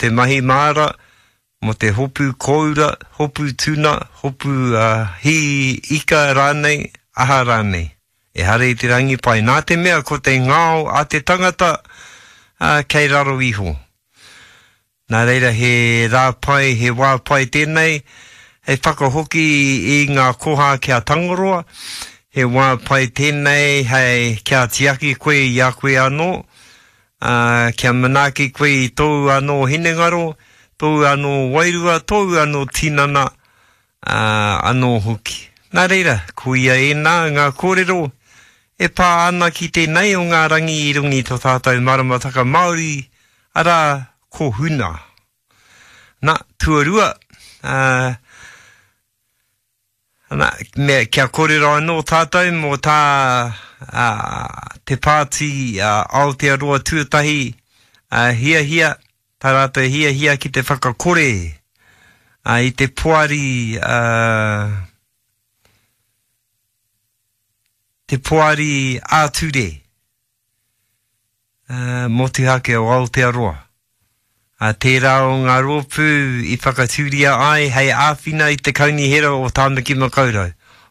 te mahi māra, mō te hopu kōura, hopu tuna, hopu hī ika rānei, aha rānei. Ehara i te rangi pai, nā te mea ko te ngao a te tangata kei raro iho. Nā reira he rā pai, he wā pai tēnei hei whakahoki i ngā koha ki a Tangaroa, he wā pai tēnei hei kia tiaki koe i a koe anō, ā, kia manaaki koe i tōu anō hinengaro, tōu anō wairua, tōu anō tinana, ā, anō hoki. Nā reira, koia ēnā ngā kōrero e pā ana ki tēnei o ngā rangi i runga i tō tātou maramataka Māori, arā, ko Huna. Nā, tuarua, ā, ana, me, kia kōrero anō tātou mō tā ā, te pāti ā, Aotearoa Tuatahi ā, hiahia, tā rātou hiahia ki te whakakore ā, i te poari, ā, te poari ā-ture motuhake o Aotearoa. Ā, tērā o ngā rōpū i whakatūria ai hei āwhina i te Kaunihera o Tāmaki Makaurau.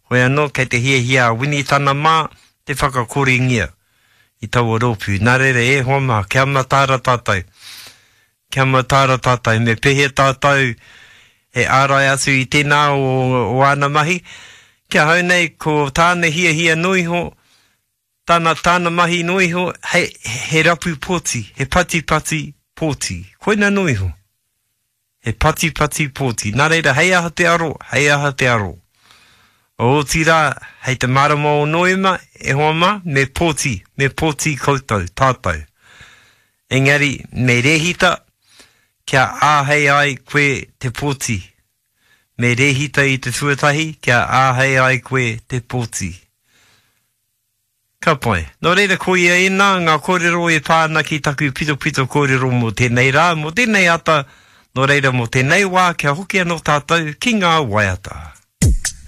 Hoi anō, kei te hiahia a Winitana mā te whakakorengia i taua rōpū. Nā reira, e hoa mā, kia mataara tātou. Kia mataara tātou. Me pēhea tātou e ārai atu i tēnā o, o āna mahi? Ki ahau nei, ko tāna hiahia noa iho, Tāna, tāna mahi noa iho, he, he rapu pōti, he patipati pōti. Koina noa iho. He patipati pōti. Nā reira, hei aha te aro, hei aha te aro. Otirā, hei te marama o Noema, e hoa mā, me pōti, me pōti koutou, tātou. Engari, me rēhita, kia āhei ai koe te pōti. Me rēhita i te tuatahi, kia āhei ai koe te pōti. Ka pai. Nō reira, koia ēnā ngā kōrero e pā ana ki taku pitopito kōrero mō tēnei rā, mō tēnei ata, nō reira mō tēnei wā kia hoki anō tātou ki ngā waiata.